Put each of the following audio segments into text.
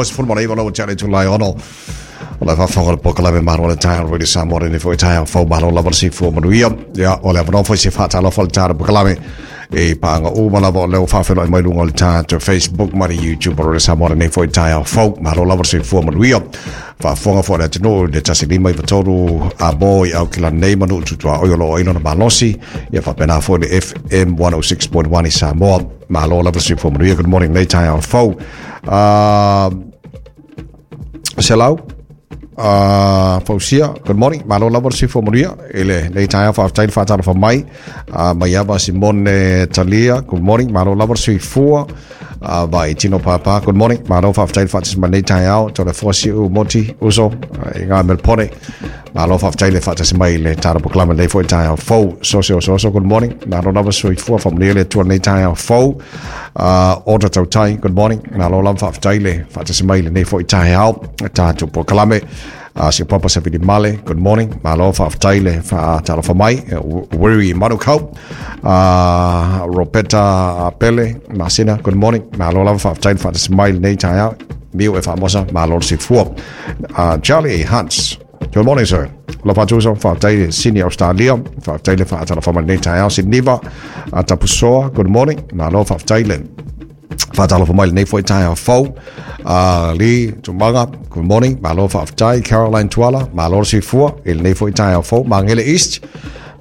29 lau te ale tulai ono. O le faafofoga le polokalame Malo le Taeao Radio Samoa lenei foi taeao fou malo lava le soifua manuia. Ia, o le avanoa foi se faatalofa le tatou polokalame e paaga uma lava o lea ua faafeiloai mai luga o le tatou Facebook ma le YouTube o Radio Samoa lenei foi taeao fou malo lava le soifua manuia. Faafofoga foi le atunuu i le 153 a mo i Aukilani nei ma nuu tutuaoi o lo o ai lona malosi. Ia faapena foi le FM 106.1 i Samoa. Malo lava le soifua manuia. Good morning nei taeao fou. Selau, Fausia, good morning. Malo lava le soifua manuia i lenei taeao. Faafetai le faatalofa mai. Maiava Simone Talia, good morning. Malo lava le soifua. Vai Tino Pāpā, good morning. Malo faafetai le faatasi mai lenei taeao. Tole foa siu moti uso i ngā Melpone. Malo faafetai le faatasi mai le tatou polokalame lenei foi taeao fou. Sose o Soso, good morning. Malo lava soifua faamanuia le Atua lenei taeao fou. Ota Tautai, good morning. Malo lava faafetai le faatasi mai lenei foi taeao tatou polokalame. Si Papa Savili Male, good morning. Malo faafetai le faatalofa mai. Wiri Manukau, Ropeta Pele, Masina, good morning. Malo lava faafetai le faatasi mai lenei taeao. Miu e faamosa, malo le soifua. Charlie Hunts, good morning, sir. La fatuso, faafetai le Sydney, Australia. Faafetai le faatalofa mai lenei taeao. Siniva, Tapusoa, good morning. Malo faafetai le faatalofa mai lenei foi taeao fou. Lee Tumaga, good morning. Malo faafetai. Caroline Tuala, malo le soifua i lenei foi taeao fou. Magele East,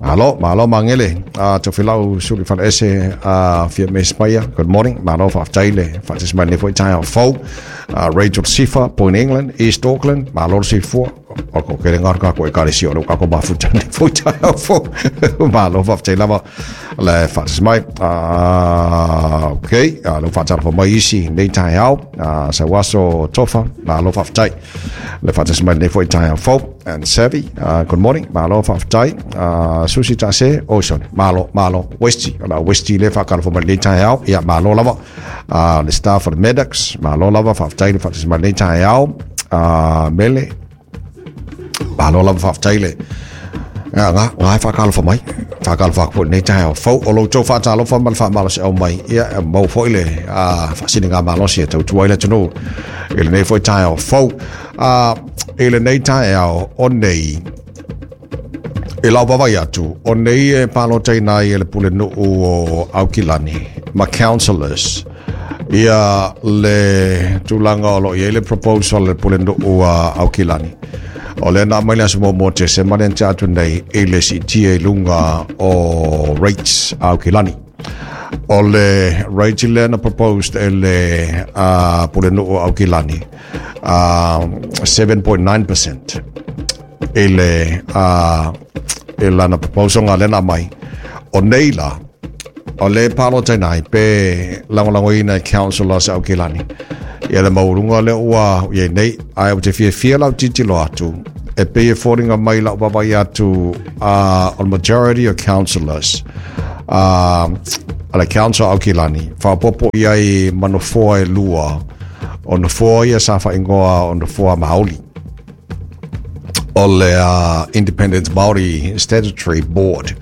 malo, malo Magele. Tofilau Suli Faleese, Fia Mespaia, good morning. Malo faafetai le faatasi mai lenei foi taeao fou. Rachel Sifa, Point England, East Auckland, malo le soifua. O ko kere ngā kā ko e kare si o ka ko mafuta nei foi taeao fou. Malo faafetai lava le faatasi mai. Okay, le faatalofa mai isi nei taeao. Sauaso Tofa, malo faafetai le faatasi mai nei foi taeao fou. And Savi, good morning. Malo faafetai. Susi Tase, oh sorry, malo, malo, Westy, o la Westy le faatalofa mai nei taeao. Ia, malo lava. Le staff of the Maddox, malo lava faafetai le faatasi mai nei taeao. Mele, malo lava faafetai le nga nga nga e whakalofa mai whakalofa aku nei taeao fou o loutou faatalofa ma le faamalosiau mai ia e mau foi le faasini ngā malosi e tautua ai le atunuu i lenei foi taeao fou i lenei taeao o nei e lau vaavaai atu o nei e palotaina ai e le pulenuu o Aukilani ma councillors ia le tulaga o lo o i ai le proposal le pulenuu a Aukilani. O lea na aumai le aso muamua o Tesema lea na tea atu nei i le siitia i luga o rates a Aukilani. O le rate lea na proposed e le pulenuu o Aukilani 7.9% i le i lana proposal nga lea na aumai. O nei la, o le palotaina ai pe lagolagoina e councillors a Aukilani. Ia le maualuga lea ua i ai nei, ae ou te fiafia lau tilotilo atu, e pei e foliga mai lau vaavaai atu o le majority of councillors a le council Aukilani, faaopoopo i ai ma nofoa e lua, o nofoa ia sa faaigoa o nofoa Māori. O le Independent Māori Statutory Board.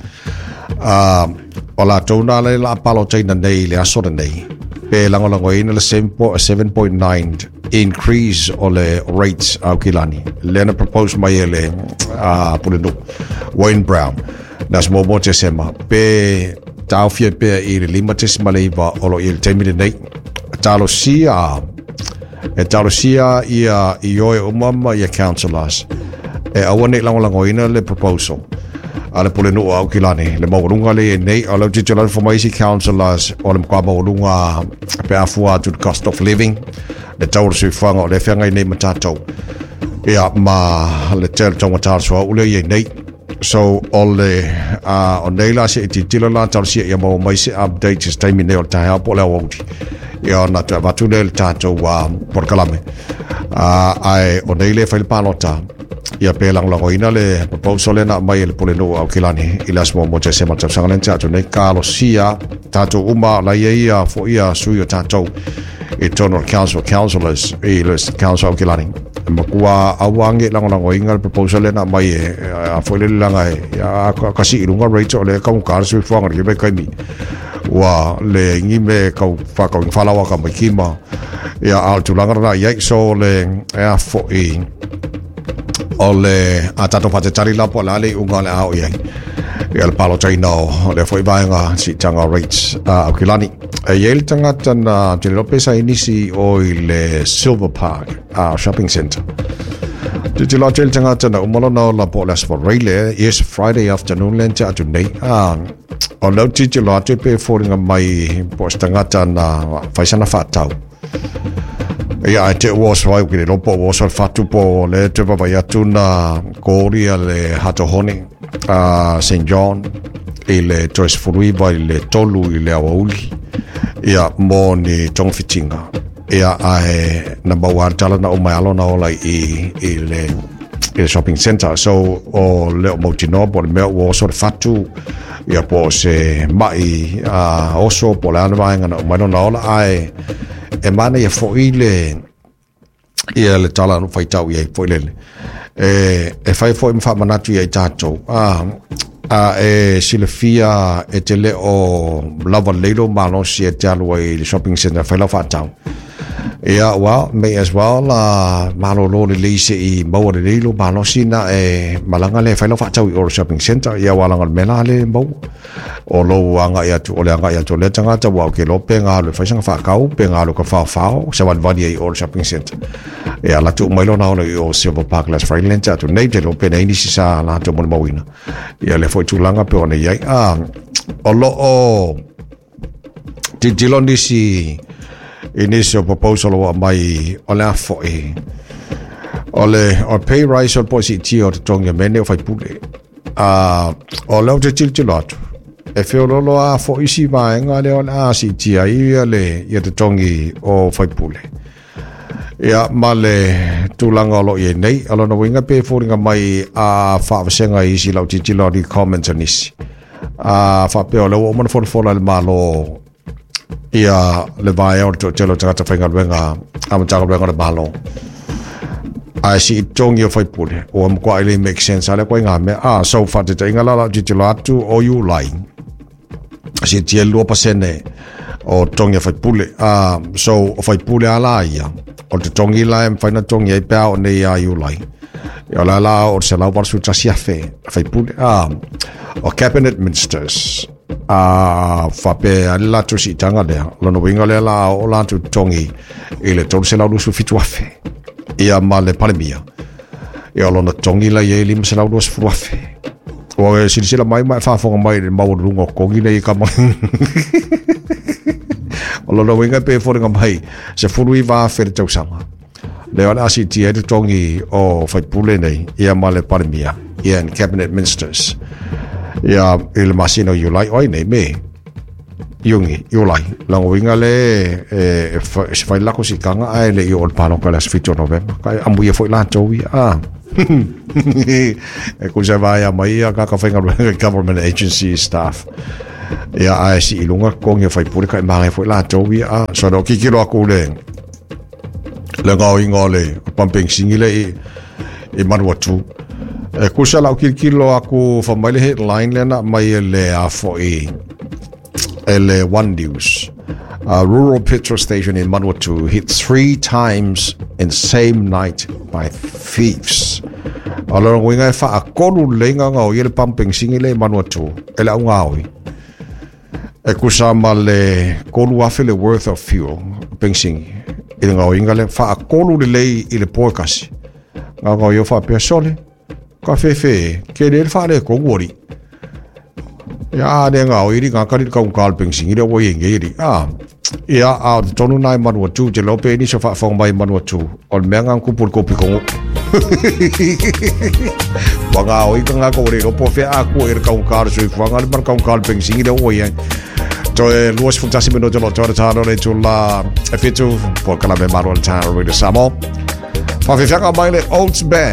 O latou na le la palotaina nei i le aso lenei, pe lagolagoina le 7.9 increase o le rates a Aukilani. Lea na propose mai e le Pulenuu, Wayne Brown, na aso muamua o Tesema, pe taofia pea i le 5.9 o lo o i ai i le taimi lenei. Talosia, e talosia ia ioe uma ma ia councillors e aua nei lagolagoina le proposal a le Pulenuu o Aukilani, le maualuga le i ai nei. O le tilotilo atu mai isi councillors o le matua maualuga pe a fua atu le cost of living, le tau o le soifuaga o lea e feagai nei ma tatou. Ia, ma le tele taugata o le suauu lea i ai nei. So, o le, o nei la se i tilotilo la talosia ia maua mai se update se taimi nei o le taeao po o le aoauli. Ia ona toe avatu lea i le tatou polokalame. Ae o nei le fai le palota, ia pe lagolagoina le proposal lea na aumai e le Pulenuu o Aukilani i le aso muamua o Tesema le tausaga lea na tea atu nei. Talosia tatou uma la i ai ia foi ia sui o tatou i totonu o le Council of Councillors i le Council o Aukilani. E matua aua nei lagolagoina le proposal lea na aumai e a foi le lelaga e ia ka sii i luga rate o lea e taugata le soifuaga i lenei vaitaimi. Ua leai ni mea e tau whakau i whalawa ka mai kima. Ia, a o le tulaga lena i ai, so le e a fo'i o le a tatou faatetali la po o le a le iuga o le a oo i ai ia le palotaina o lea foi vaega siitaga o rates a Aukilani. E i ai le tagata na te le iloa pe sa i nisi o i le Silver Park Shopping Centre. Tilotilo atu ai le tagata na uma lona ola po o le Aso Faraile, yes, Friday afternoon lea na tea atu nei. O lea ou tilotilo atu e pei e foliga mai po o se tagata na fai sana faatau. Ia, ae te ua oso ai, ke le iloa po ua oso le fatu po o lea toe vaavaai atu na koli a le Hato Hone a St. John i le toe 19 i le 3 i le aoauli ia mo ni togafitiga. Ia, ae na maua le tala na uma e alo na ola i le shopping center. So, o le o mautinoa po o le mea ua oso le fatu, ia po o se mai oso po o le a le vaega na uma ai lona ola, ae e manaia foi le ia le tala na faitau i ai foi lele. E fai foi ma faamanatu ia i tatou. A e silafia e te le o lava lelei lou malosi e te alu ai i le shopping center e fai lau faatau. Ia, well, may as well malolo lelei se i maua lelei lou malosi na e malaga lea e fai lau faatau i o le shopping center. Ia, aua leaga o le mea la lea e maua. O lou agai atu, o le agai atu o lea tagata, ua ou ke iloa pe ga alu e fai sana faatau, pe ga alu e faofao, savalivali ai i o le shopping center. Ia, alu atu uma ai lona ola i o Silver Park last Friday lea na tea atu nei, te iloa pe na i ai nisi sa latou molimauina. Ia lea foi tulaga pe ona i ai. O lo o tilotilo nisi i nisi o proposal ua aumai o le a foi. O le o pay rise o le po o siitia o totogi o mea nei o faipule. O lea ou te tilotilo atu, e feoloolo lava foi isi vaega lea o le a siitia ai ia le ia totogi o faipule. Ia, ma le tulaga o lo o i ai nei, o lona uiga pe foliga mai a faavasega i isi lau tilotilo atu i comments a nisi. A faapea o lea ua uma ona folafola e le Malo ia le vaea o le toatele o tagata faigaluega a Matagaluega o le Malo. Ae sii totogi o faipule, ua matuai le make sense a lea koe ngā mea. So faataitaiga la lau tilotilo atu o Iulai, siitia le 2% o totogi a faipule. So o faipule a la ia, o le totogi la e mafai ona totogi ai pe a oo nei ia Iulai. Ia o le a la o le $181,000 faipule. O cabinet ministers, faapea le latou siitaga lea, lona uiga lea la oo latou totogi i le $327,000. Ia ma le Palemia, ia o lona totogi la i ai $520,000. Ua e silasila mai ma e faafofoga mai i le maualuluga o totogi nei e kama. O lona uiga pe foliga mai $19,000 le tausaga. Lea o le a siitia ai totogi o faipule nei, ia ma le Palemia, ia and cabinet ministers. Ia i le masina o Iulai, oi nei me, Iuni, Iulai. Lona uiga le e se fai lako siitaga ae le i oo i le palota i le aso 7 o Novema. Ka e amuia foi latou ia. E kusa e vaea mai ia kaka faigaluega government agency staff. Ia ae si i lunga totogi o faipule ka e māngai foi latou ia. So no kikilo aku le le gaoiga o le pumping singi le i Manuatu. E kusa lau kilokilo aku fa mai le headline lea na mai e le a foi e le One News. A rural petrol station in Manuatu hit 3 times in same night by thieves. O lona uiga e faatolu lelei gaogaoia le pumping singi le i Manuatu e le au gaoi. E kusa ma le 3,000 le worth of fuel penisini i le gaoiga lea, faatolu lelei i le po e kasi. Gaogaoia faapea sole, ka fefe e, ke le le faaletonu alii. Ia a le gaoi li ngā kari le kaunga le penisini lea ua i ai nei alii. Ia, a o te tonu nā e Manuatu, te leo pe nisi o faafofoga mai i Manuatu, o le mea ngā kupu le kopi kongo. Ua gaoi ka ngā ko le ropo whea a kua i le kaunga le soifuaga le mana kaunga le penisini lea ua i ai. Toe 21 minuta lo toe tāno le tula e whitu, po kalame maro le tāno le Samoa. Whawhiwhanga mai le Oats Band.